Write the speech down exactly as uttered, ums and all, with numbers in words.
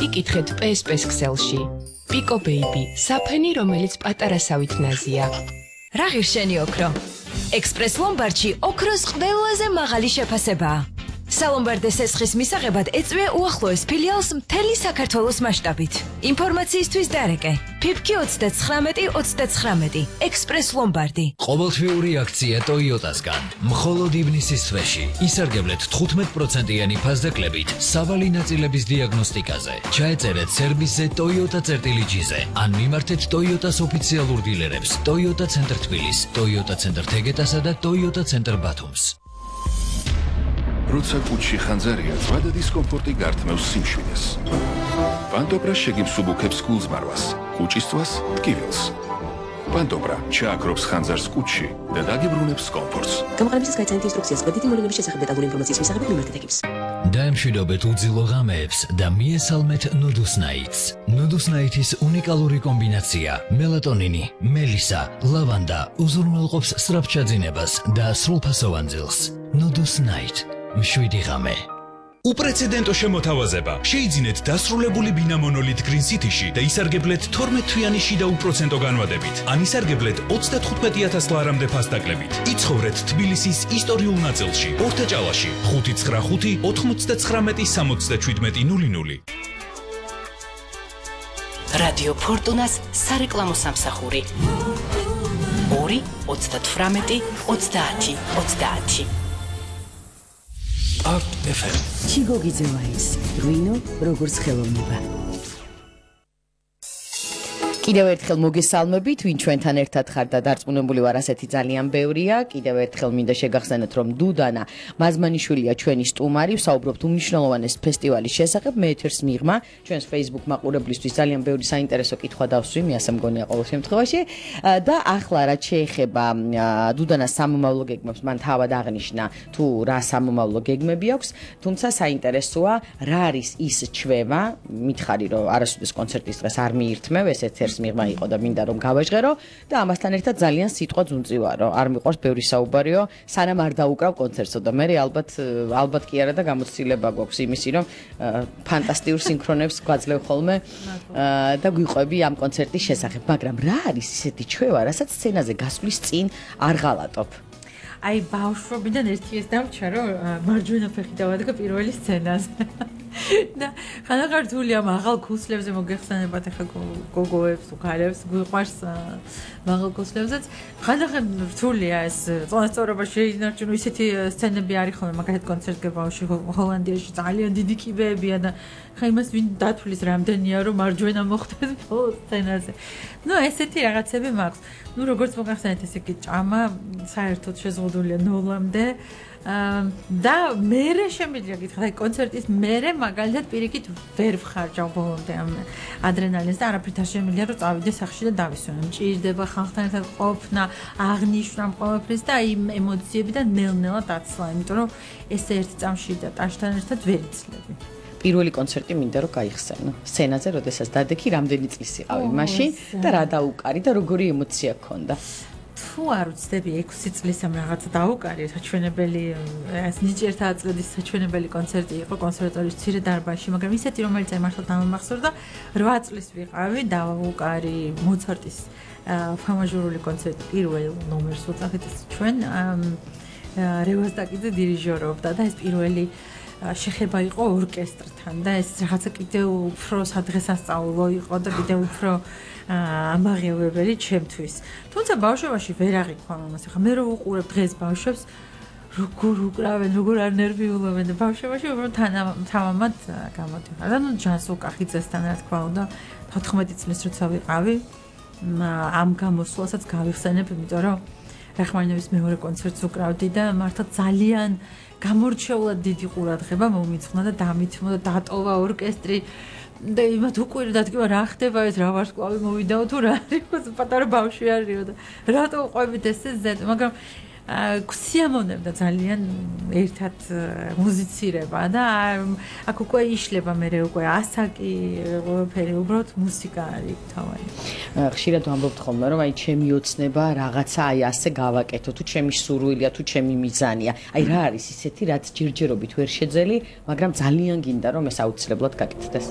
იკითხეთ პე ეს პე-ს ქსელში. Pico Baby, საფენი, რომელიც პატარასავით ნაზია. რა ღირშენი ოქრო? ექსპრეს ლომბარდში ოქროს ყველაზე მაღალი შეფასებაა. სალომბარდეს ესხის მისაღებად ეწვია უახლოეს ფილიალს მთელი საქართველოს მასშტაბით. ინფორმაციისთვის დარეკე ფიფკი ოცდათხრამეტი ოცდათხრამეტი ექსპრეს ლომბარდი. ყოველთვიური აქცია ტოიოტასგან. მხოლოდ ივნისის თვეში ისარგებლეთ თხუთმეტ პროცენტიანი ფასდაკლებით სავალი ნაწილების დიაგნოსტიკაზე. ჩაეწერეთ სერვისზე ტოიოტა წერტილი ჯიზე ან მიმართეთ ტოიოტას ოფიციალურ დილერებს ტოიოტა ცენტრ თბილის, ტოიოტა ცენტრ თეგეტასა და ტოიოტა ცენტრ ბათუმს. როცა კუჩში ხანძარია, ზვადა დისკომფორტი გართმევს სიმშვიდეს. პანტოპრა შეგიმსუბუქებს გულზმარვას, კუჭისწვას, ტკივილს. პანტოპრა ჩააქრობს ხანძარს კუჩში და დაგიბრუნებს კომფორტს. გამოყენებისას გაიცანით ინსტრუქციას კრედიტი მოვლენების შესახებ დეტალური ინფორმაციის მისაღებად მიმართეთ ეკიპს. დაემშვიდობეთ უძილო ღამეებს და მიესალმეთ ნუდუსნაიტს. ნუდუსნაიტის უნიკალური კომბინაცია მელატონინი, მელისა, ლავანდა უზრუნველყოფს სწრაფჩაძინებას და სრულფასოვან ძილს. ნუდუსნაიტ მშვიდი ღამე. უპრეცედენტო შემოთავაზება. შეიძინეთ დასრულებული ბინა მონოლით გრინ სიტიში და ისარგებლეთ თორმეტ თვიანი შიდა უპროცენტო განვადებით. ან ისარგებლეთ ოცდათხუთმეტი ათას ლარამდე ფასდაკლებით. იცხოვრეთ თბილისის ისტორიულ ნაწილში, ორთაჭალაში, ხუთი ცხრა ხუთი ოთხმოცდათხრამეტი სამოცდაჩვიდმეტი ნული ნული. რადიო ფორტუნას სარეკლამო სამსახური. ორი ოცდათვრამეტი ოცდაათი ოცდაათი. არტ ეფ ემ. ჩიგოგიძევაის ღვინო როგორც ხელოვნება. კიდევ ერთხელ მოგესალმებით, ვინ ჩვენთან ერთად ხარ და დარწმუნებული ვარ, ასეთი ძალიან ბევრია. კიდევ ერთხელ მინდა შეგახსენოთ, რომ დუდანა მაზმანიშვილია ჩვენი სტუმარი, ვსაუბრობთ უმნიშვნელოვანეს ფესტივალის შესახებ. მე ეთერს მიღმა, ჩვენს Facebook მაყურებლისთვის ძალიან ბევრი საინტერესო კითხვა დავსვი, მე ასე მგონია ყოველ შემთხვევაში. და ახლა რაც შეეხება დუდანას სამომავლო გეგმებს, მან თავად აღნიშნა თუ რა სამომავლო გეგმები აქვს, თუმცა საინტერესოა, რა არის ის ჩვევა, მითხარი რომ არასოდეს კონცერტის დღეს არ მიირთმევ, ეს ეთერს მიღმა იყო და მინდა რომ გავაჟღერო და ამასთან ერთად ძალიან სიტყვა ძუნწივარო. არ მიყვარს ბევრი საუბარიო, სანამ არ დაუკრავ კონცერტსო და მე ალბათ ალბათ კი არა და გამოცდილება გვაქვს იმისი, რომ ფანტასტიურ სინქრონებს გვაძლევ ხოლმე და გვიყვები ამ კონცერტის შესახებ, მაგრამ რა არის ისეთი ჩვევა, რასაც სცენაზე გასვლის წინ არ ღალატობ? აი ბავშვობიდან ერთი ეს დამჩა, რომ მარჯვენა ფეხი დავადგა პირველი სცენაზე. და ხანახარ რთულია მაღალ ქუსლებზე მოგეხსენებათ ახლა გოგოებს, უქალებს, გვიყვარს მაღალ ქუსლებზეც. ხანახარ რთულია ეს წონასწორობა შეინარჩუნო, ისეთი სცენები არის ხოლმე, მაგალითად კონცერტზე ბავშვი ჰოლანდიაში ძალიან დიდი კიბეებია და ხა იმას ვინ დათვლის რამდენია რომ მარჯვენა მოხდეს ბოლო სცენაზე. ნუ ესეთი რაღაცები მაქვს. ნუ როგორც მოგახსენეთ, ესე იგი ჭამა საერთოდ შეზღუდულია ნოლამდე. და მერე შემიძლია გითხრათ, აი კონცერტის მერე მაგალითად პირიქით ვერ ვხარჯავ ბოლომდე ამ ადრენალინს და არაფრით არ შემიძლია რომ წავიდე სახში და დავისვენო. მჭირდება ხალხთან ერთად ყოფნა, აღნიშვნა ყველაფრის და აი ემოციები და ნელ-ნელა დაცლა, იმიტომ რომ ეს ერთი წამში და ტაშთან ერთად ვერ იცლები. პირველი კონცერტი მინდა რომ გაიხსენო. სცენაზე, როდესაც დადექი, რამდენი წლის იყავი მაშინ და რა დაუკარი და როგორი ემოცია გქონდა? თუ არ ვცდები ექვსი წლის ამ რაღაცა დაუკარი, საჩვენებელი ეს ნიჭიერთა აწლედის საჩვენებელი კონცერტი იყო კონსერვატორიის მცირე დარბაზში, მაგრამ ისეთი რომელიც აი მართლა დამამახსოვრდა, რვა წლის ვიყავი, დაუკარი მოცარტის ფამაჟურული კონცერტი პირველ ნომერს უწახეთ ჩვენ რევაზდაკიძე დირიჟორობდა და ეს პირველი შეხება იყო ორკესტრთან და ეს რაღაცა კიდევ უფრო სადღესასწაულო იყო და კიდევ უფრო ამაღელვებელი ჩემთვის. თუმცა ბავშვობაში ვერ აღიქვა მომას. ახლა მე რო უყურებ დღეს ბავშვებს, როგორ უკრავენ, როგორ არ ნერვიულობენ და ბავშვობაში უბრალოდ თანამამად გამოდიხარ. და ნუ ჯანს უკახიძესთან რა თქვა უნდა თოთხმეტი წლის როცა ვიყავი, ამ გამოსვლასაც გავიხსენებ, იმიტომ რომ რახმანინოვის მეორე კონცერტს უკრავდი და მართლა ძალიან გამორჩეულად დიდი ყურადღება მომიწყნა და დამითმო და დატოვა ორკესტრი და იმათ უყვირდა თქვა რა ხდება ეს რა ვარსკვლავი მოვიდაო თუ რა არის პატარა ბავშვი არისო და რატო უყვებით ეს ზედ მაგრამ გვსიამოვნებდა ძალიან ერთად მუსიცირება და აქ უკვე იშლება მე უკვე ასაკი ყველაფერი უბრალოდ მუსიკა არის თავარი. ხშირად ვამბობთ ხოლმე რომ აი ჩემი ოცნება რაღაცა აი ასე გავაკეთო თუ ჩემი სურვილია თუ ჩემი მიზანია. აი რა არის ისეთი რაც ჯერჯერობით ვერ შეძელი, მაგრამ ძალიან გინდა რომ ეს აუცილებლად გაკეთდეს.